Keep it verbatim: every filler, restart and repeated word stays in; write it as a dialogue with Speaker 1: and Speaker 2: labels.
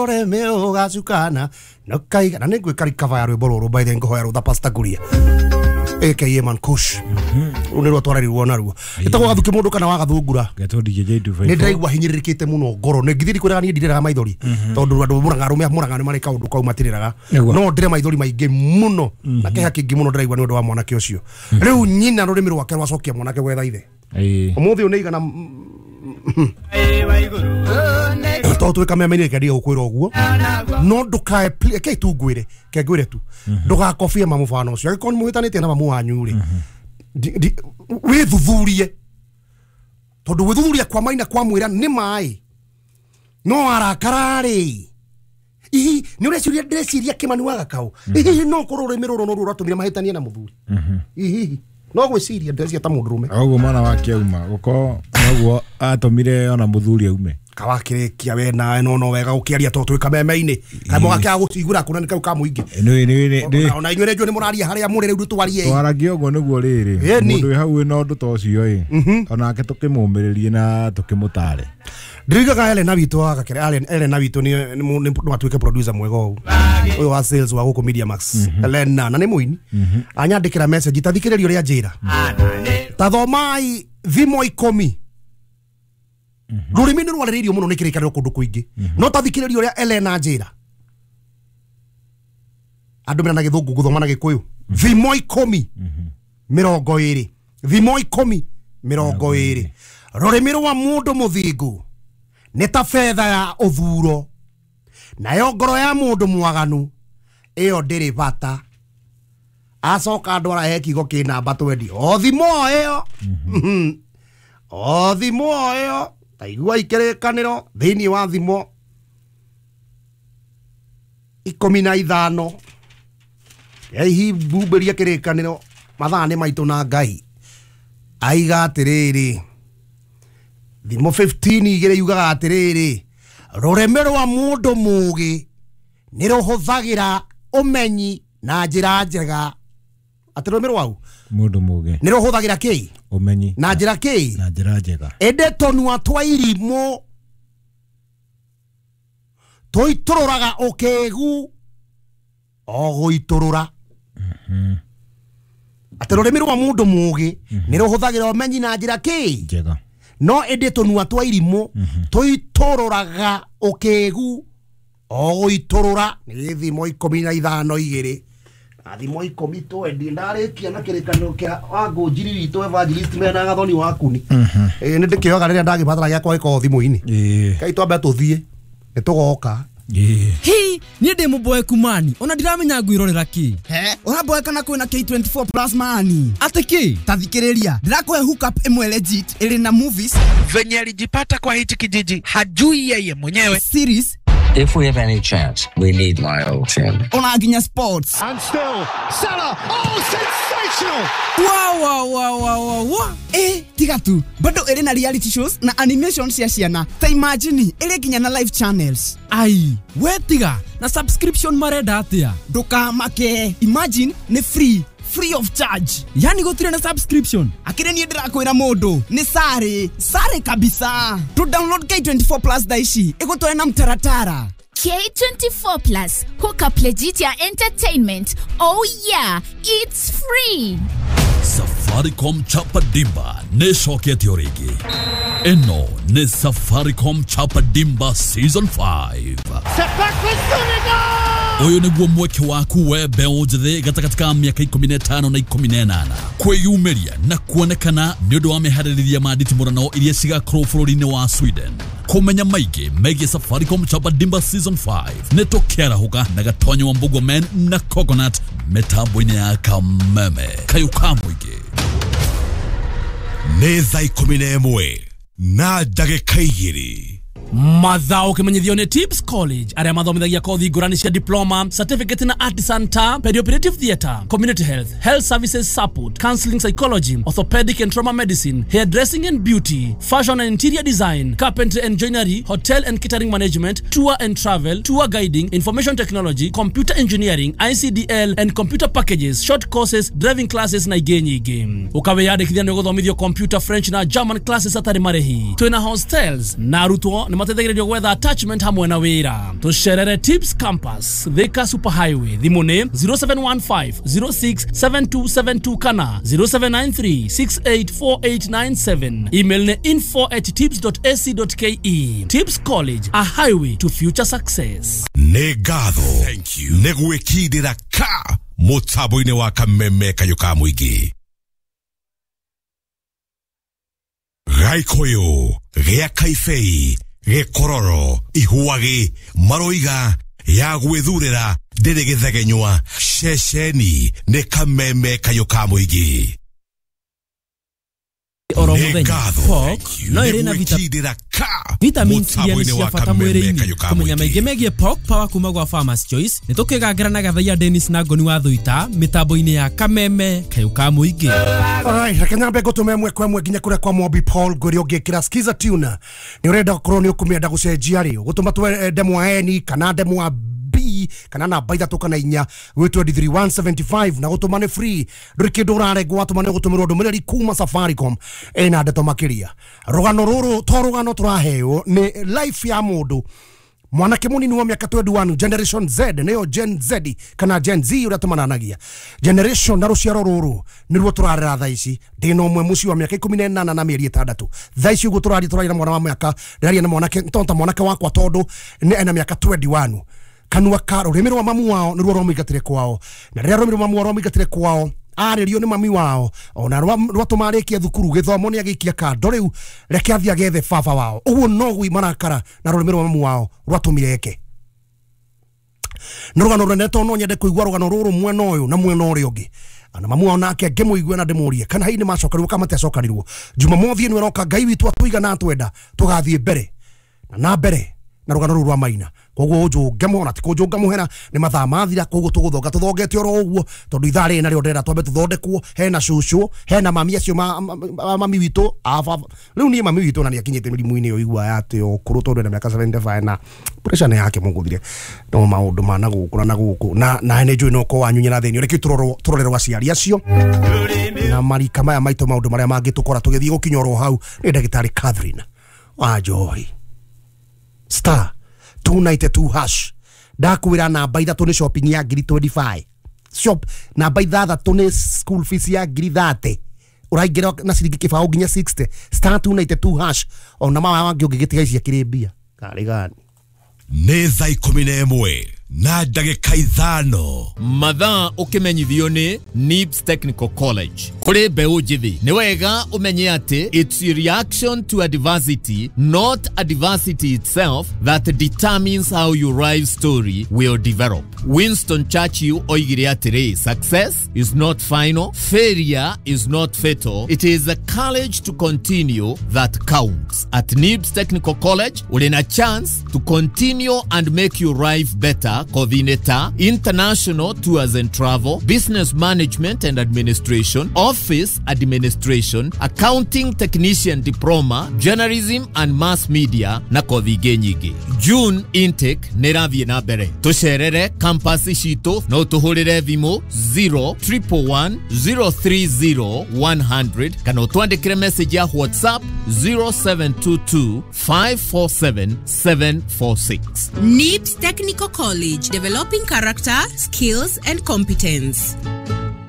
Speaker 1: Rũrĩmĩ ũgacukana na ũkaiga na nĩngwĩka recover ya rwĩmbo rũrũ by the ngũhoya rũtha Pastor Kuria aka Man Kush. Rũu nĩruo twararirwo naruo ĩtagwo gathuki mũndũ kana wagathungura.
Speaker 2: Gatå D J two five four.
Speaker 1: Nĩ ndĩraigua hinyĩrĩrĩkĩte mũno ngoro nĩ ngithiri kwĩraga niĩ ndirĩraga maithori tondũ andũ mũraga arũme mũraga nĩ marĩ kaũndũ kau matirĩraga.
Speaker 2: Nĩguo.
Speaker 1: No ndĩre maithori maingĩ mũno na kĩeha kĩingĩ mũno ndĩraigua nĩ ũndũ wa mwanake ũcio. Rĩu nyina rũrĩmĩ rwake rwacokia mwanake gwetha ithe.
Speaker 2: Ĩĩ.
Speaker 1: Ũmũthĩ ũyũ nĩ igana tondũ twĩ kameme-inĩ reke ndige gũkwĩra ũguo no ndũkae pl- reke tu ngwĩre ke ngwĩre tu ndũgakobie mamũbano ũcio angĩkorwo nĩ mũhĩtanĩtie na mamu wanyu rĩ ndi- ndi- wĩthuthurie tondũ gwĩthuthuria kwa maina kwa mwĩra nĩ maĩ no arakara rĩ ihi nĩ ũreciria ndĩreciria kĩmani wa gakaũ ihihi no korwo rũrĩmĩ rũrũ noruo rũratũmire mahĩtanie na mũthuri ihihi no gwĩciria ndĩreciria ta mũndũrũme.
Speaker 2: Ũguo mwana wake auma gũkorwo noguo atũmire ona mũthuri aume.
Speaker 1: Kawakĩrĩkia we nawe no no wega gũkĩaria tondũ twĩ kameme-inĩ kamwe gakĩaga gũciguĩra kũna nĩ kau ka mũingĩ.
Speaker 2: Nĩ nĩ nĩ
Speaker 1: Ona inyuĩ rĩnjũ nĩ mũraria harĩa mũrĩ rĩu twarie.
Speaker 2: Twaragia ũguo nĩguo rĩrĩ
Speaker 1: Ĩni.
Speaker 2: mũndũ wĩ hau wĩna ũndũ ta ũcio ĩ onake tũkĩmũmĩrĩrie na tũkĩmũtare.
Speaker 1: Ndirigaga Elena witũ wa gakere Elena witũ nĩ nĩ nĩ- no atuĩke producer mwega ũũ ũyũ wa sales wa gũkũ Media Max Elena na nĩ mũini anyandĩkĩra message ta thikĩrĩria ũrĩa njĩra ta thomai thimo ikũmi. Rũrĩmĩ nĩ rwarĩrĩirio mũno nĩ kĩrĩkanĩro kũndũ kũingĩ no ta thikĩrĩria ũrĩa Elena njĩra andũ mena na gĩthũngũ gũthoma na gĩkũyũ thimo ikũmi mĩrongo ĩrĩ, thimo ikũmi mĩrongo ĩrĩ: rũrĩmĩ rwa mũndũ mũthingu nĩ ta betha ya ũthuro nayo ngoro ya mũndũ mwaganu ĩyo ndĩrĩ bata. Acoka ndwara he kiugo kĩ namba twendi o thimo o ĩyo o thimo o ĩyo ta igua ikĩrĩkanĩro thĩinĩ wa thimo ikũmi na ithano hihi mbumberia kĩrĩkanĩro mathaa nĩ maitũ na Ngai aiga atĩrĩrĩ thimo fifteen igĩrĩ yugaga atĩrĩrĩ rũrĩmĩ rwa mũndũ mũũgĩ nĩ rũhũthagĩra ũmenyi na njĩra njega. Atĩ rũrĩmĩ rwau
Speaker 2: Mũndũ mũgĩ
Speaker 1: nĩ rũhũthagĩra kĩ
Speaker 2: ũmenyi
Speaker 1: na njĩra kĩ
Speaker 2: na njĩra njega.
Speaker 1: Ĩndĩ tũnua twa irimũ tũitũrũraga ũkĩgu o gũitũrũra. Atĩ rũrĩmĩ rwa mũndũ mũũgĩ nĩ rũhũthagĩra ũmenyi na njĩra kĩ
Speaker 2: njega.
Speaker 1: No ĩndĩ tũnua twa irimũ tũitũrũraga ũkĩgu o gũitũrũra. Nĩ gĩthimo ikũmi na ithano igĩrĩ na thimo ikũmi twendi ndarĩkia na kĩrĩkanĩro kĩa wangũnjiri witũ evangelist mena gathoni wa kuni. Ĩĩ nĩ ndĩkĩoyaga rĩrĩa ndagĩbatara gĩakwa gĩkorwo thimũ-inĩ.
Speaker 2: Ĩĩ.
Speaker 1: Kai twambe tũthiĩ nĩ tũgoka.
Speaker 2: Ĩĩ.
Speaker 3: Hi niĩ ndĩ mũboeku mani ona ndiramenya ngwĩrorera kĩ.
Speaker 4: He ũramboeka na kwĩna K twenty-four Plus mani.
Speaker 3: Atĩ kĩ?
Speaker 4: Ta thikĩrĩria ndĩrakũhe hookup ĩmwe legit ĩrĩ na movies,
Speaker 5: Venye alijipata kwa hichi kijiji hajui yeye mwenyewe.
Speaker 4: series,
Speaker 6: If we have any chance, we need Lyle Tim.
Speaker 4: Ona nginya sports.
Speaker 7: And still, Salah. Oh, sensational!
Speaker 3: Wa wa wa wa wa wa.
Speaker 4: Ĩ tiga tu bado ĩrĩ na reality shows na animation cia ciana. Ta imagine ĩrĩ nginya na live channels.
Speaker 3: Ai we tiga na subscription marenda atĩa?
Speaker 4: Ndũkamake, imagine nĩ free free of charge.
Speaker 3: Yani gũtirĩ na subscription?
Speaker 4: Akĩrĩ niĩ ndĩrakwĩra mũndũ nĩ sare sare kabisa to download K twenty-four Plus thaa ici ĩgũtware na mtaratara.
Speaker 8: K twenty-four Plus, hook up legit ya entertainment. Oh yeah, it's free.
Speaker 9: Safaricom Chapa Dimba nĩ ĩcoketio rĩngĩ. Ĩno nĩ Safaricom Chapa Dimba Season five.
Speaker 7: Set back for Senegal!
Speaker 9: Ũyũ nĩguo mweke waku we mbeũ njĩthĩ gatagatĩ ka mĩaka ikũmi na ĩtano na ikũmi na ĩnana kwĩyumĩria na kuonekana nĩ ũndũ wa meharĩrĩria ma nditimũrano iria cigakorwo bũrũri-inĩ wa Sweden. Kũmenya maingĩ megiĩ Safaricom Chapa Dimba Season five nĩ tũkĩarahũka na Gatonyo wa Mbugua Men na Coconut mĩtambo-inĩ ya Kameme kayũ ka mũingĩ.
Speaker 10: Nĩ thaa ikũmi na ĩmwe na ndagĩka igĩrĩ.
Speaker 3: Mathao kimenyithio nĩ Tips College arĩa mathomithagia kothi ngũrani cia diploma, certificate na artisan ta perioperative theatre, community health, health services support, counseling psychology, orthopedic and trauma medicine, hairdressing and beauty, fashion and interior design, carpentry and joinery, hotel and catering management, tour and travel, tour guiding, information technology, computer engineering, I C D L and computer packages, short courses, driving classes na ingĩ nyingĩ. Ũkawĩyandĩkithia nĩ ũgũthomithio computer, French na German classes atarĩ marĩhi. Twĩna hostels na arutwo nĩ mateithagĩrĩrio gwetha attachment hamwe na wĩra. Tũcerere Tips Campus, Thika Super Highway. Thimũ nĩ zero seven one five zero six seven two seven two kana zero seven nine three six eight four eight nine seven. Email nĩ info at tips dot a c dot k e. Tips College, a highway to future success.
Speaker 10: Nĩ ngatho nĩ gwĩkindĩra ka mũtambo-inĩ wa Kameme Kayũ ka Mũingĩ. Gaikũyũ gĩa Kaibei gĩkororo ihuagi maroiga ya gwĩthurĩra ndĩrĩ gĩthegenywa ceceni nĩ Kameme Kayũ ka Mũingĩ.
Speaker 11: Oro muthenya pork no ĩrĩ na vitamins iria nĩ cia bata mwĩrĩ-inĩ. Kũmenya maingĩ megiĩ pork power kuma gwa Farmers Choice nĩ tũkĩgangĩra na Gathaiya Dennis na Ngoni wa Thuita mĩtambo-inĩ ya Kameme Kayũ ka Mũingĩ.
Speaker 1: Alright, reke nyambe ngũtũme ĩmwe kwa ĩmwe nginya kũrĩa kwa Mobi Paul ngwĩre ũngĩkĩra skiza tuna nĩ ũrenda gũkorwo nĩ ũkũmĩenda gũcenjia rĩ ũgũtũma twe ndemwa N kana ndemwa B kana namba ithatũ kana inya gwĩ twenty three one seventy five na gũtũma nĩ free ndũrĩ kĩndũ ũrarengwo watũma nĩ ũgũtũmĩrwo ndũmĩrĩri kuma Safaricom ĩna ndeto makĩria. Rũgano rũrũ to rũgano tũraheo nĩ life ya mũndũ mwanake mũnini wa mĩaka twenty one generation Z nĩyo Gen Z kana Gen Z ũrĩa tũmananagia generation na rũciaro rũrũ nĩruo tũrarera thaa ici. Ndĩna ũmwe mũciĩ wa mĩaka ikũmi na ĩnana na mĩeri ĩtandatũ thaa ici ũguo tũraria tũraria na mwana wa mĩaka ndĩraria na mwanake to ta mwanake wakwa tondũ nĩ ena mĩaka twenty one kanua ka rũrĩmĩ rwa mamu wao nĩruo rwamũingatire kwao na rĩrĩa rũrĩmĩ rwa mamu wao rwamũingatire kwao arĩrio nĩ mami wao ona rwatũma arĩkie thukuru gĩthomo nĩ agĩikia kando rĩu reke athiĩ agethe baba wao ũguo noguo marakara na rũrĩmĩ rwa mamu wao rwatũmire eke. Nĩ rũgano rũnene tondũ no nyende kũigua rũgano rũrũ mwena ũyũ na mwena ũrĩa ũngĩ na mamu wao nake ngĩmũigue na ndĩmũrie kana hihi nĩ macokanirwo kana matiacokanirwo. Jumamothi ĩno ĩroka Ngai witũ atũiga na atwenda tũgathiĩ mbere na na mbere na rũgano rũrũ rwa Maina. Koguo ũnjũnge mũhera ti kũnjũnga mũhera nĩ mathaa mathira koguo tũgũthonga tũthongete oro ũguo tondũ ithaa rĩrĩ narĩo ndĩrenda twambe tũthondekwo hena cũcũ hena mami acio mami witũ rĩu niĩ mami witũ na nĩ akinyĩte mĩrimũ-inĩ ĩyo igua atĩ ũkũrũ tondũ ena mĩaka seventy five na pressure nĩ yake mũgũthire no maũndũ ma na gũkũ na na gũkũ na na nĩ njũĩ no ko wanyu nyina thĩinĩ reke tũrorerwo aciari acio na marika maya maitũ maũndũ marĩa mangĩtũkora tũgĩthiĩ gũkinya oro hau nĩ ndagĩtarĩ Catherine wa Njohi star two ninety two hash ndakwĩra namba ithatũ nĩ shopping ya ngiri twenty five shop namba ithathatũ nĩ school fees ya ngiri thirty ũraingĩra na ciringi kĩbaũ nginya sixty star two ninety two hash ona mama wangĩ ũngĩgĩtiga ici akĩrĩ mbia karĩ gani.
Speaker 10: Nĩ thaa ikũmi na ĩmwe na ndagĩka ithano
Speaker 12: mathaa ũkĩmenyithio nĩ Nibs Technical College. Kũrĩ mbeũ njĩthĩ nĩ wega ũmenye atĩ it's a reaction to adversity not adversity itself that determines how your life story will develop. Winston Churchill oigire atĩrĩ, success is not final, failure is not fatal, it is the courage to continue that counts. At Nibs Technical College ũrĩ na chance to continue and make your life better. Coordinator, international tours and travel, business management and administration, office administration, accounting technician diploma, journalism and mass media na kothi ingĩ nyingĩ. June intake nĩ ĩrathiĩ na mbere. Tũcerere campus citũ no tũhũrĩre thimũ zero triple one zero three zero one hundred kana ũtwandĩkĩre message ya WhatsApp zero seven two two five four seven seven four six.
Speaker 13: Nibs Technical College, developing character, skills and competence.